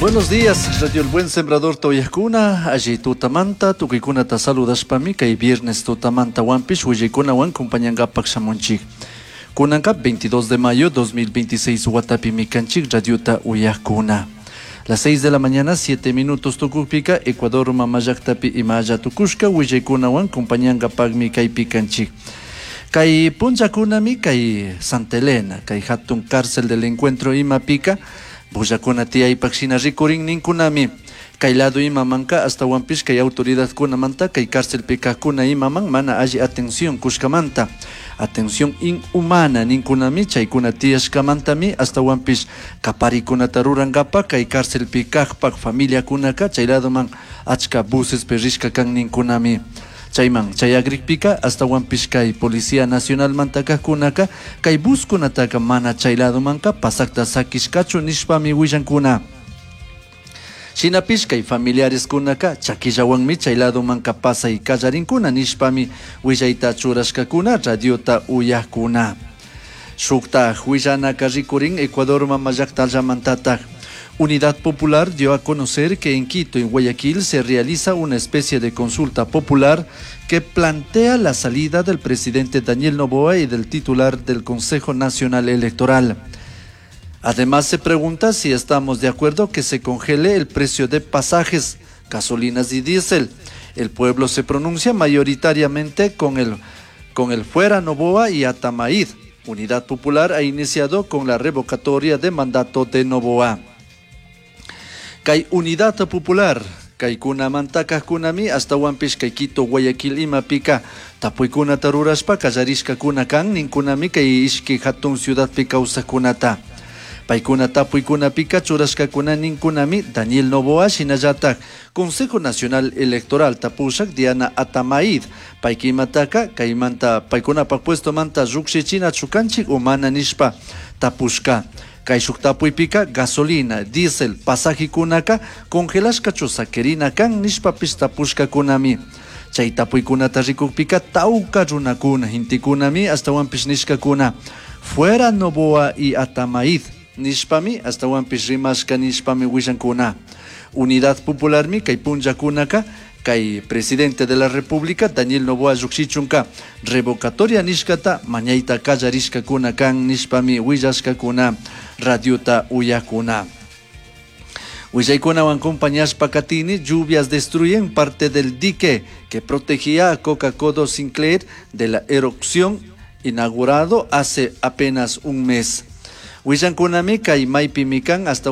Buenos días, Radio El Buen Sembrador Toyakuna, allí tutamanta, tukuykunata saludashpami, kay viernes tutamanta wampish, willaykunawan compañangapak shamunchik. Kunanka 22 de mayo 2026 watapimi kanchik radiota uyakuna. Las 6 de la mañana, 7 minutos tukukpika, Ecuador mamallaktapi imalla tukushka willaykunawan compañangapakmi kaypi kanchik. Kay punllakunami kay Santa Elena, kay hatun cárcel del encuentro imapika, bullakuna tiyaypak shina rikurin ninkunami. Kay lado imamanka astawanpish kay autoridadkunamanta kay cárcelpi kajkuna imaman mana alli atención kushkamanta. Atención inhumana ninkunami chaykuna tiyashkamantami astawanpish kaparikunata rurankapa kay cárcelpi kajpak familiakunaka chay ladoman achka buses rishka kan ninkunami. Chayman chayagrikpika astawanpish kay Policía Nacionalmanta kajkunaka kay buskunataka mana chay ladomanka pasakta sakishkachu nishpami willankuna. Shinapish kay familiareskunaka chakillawanmi chay ladomanka pasay kallarinkuna nishpami willayta churashkakuna radiota uyakuna. Shuktaj willanaka rikurin Ecuador mamallaktallamantataj. Unidad Popular dio a conocer que en Quito y Guayaquil se realiza una especie de consulta popular que plantea la salida del presidente Daniel Noboa y del titular del Consejo Nacional Electoral. Además se pregunta si estamos de acuerdo que se congele el precio de pasajes, gasolinas y diésel. El pueblo se pronuncia mayoritariamente con el fuera Noboa y Atamaid. Unidad Popular ha iniciado con la revocatoria de mandato de Noboa. Kay Unidad Popular, kaykunamanta kajkunami astawanpish kay Quito, Guayaquil imapika tapuykunata rurashpa kallarishkakuna kan ninkunami kay ishki hatun ciudadpi kawsakkunata. Paykuna tapuykunapika churashkakuna ninkunami Daniel Noboa shinallatak Consejo Nacional Electoral tapushak Diana Atamaid paykimataka kaymanta paykunapak puestomanta llukshichinachu kanchik o mana nishpa tapushka. Kay shuk tapuypika gasolina, diésel, pasajikunaka congelashkachu sakirina kan nishpapish tapushkakunami. Chay tapuykunata rikukpika tawka runakuna, gentekunami astawanpish nishkakuna. Fuera Noboa y Atamaid nishpami astawanpish rimashka nishpami willankuna. Unidad Popularmi kay punllakunaka kay presidente de la República Daniel Noboa llukshichunka revocatoria nishkata mañayta kallarishkakuna kan nishpami willashkakuna radiota uyakuna. Willaykunawan compañashpa katini, lluvias destruyen parte del dique que protegía a Coca-Codo Sinclair de la erupción inaugurado hace apenas un mes. Willankunami kay maypimi kan hasta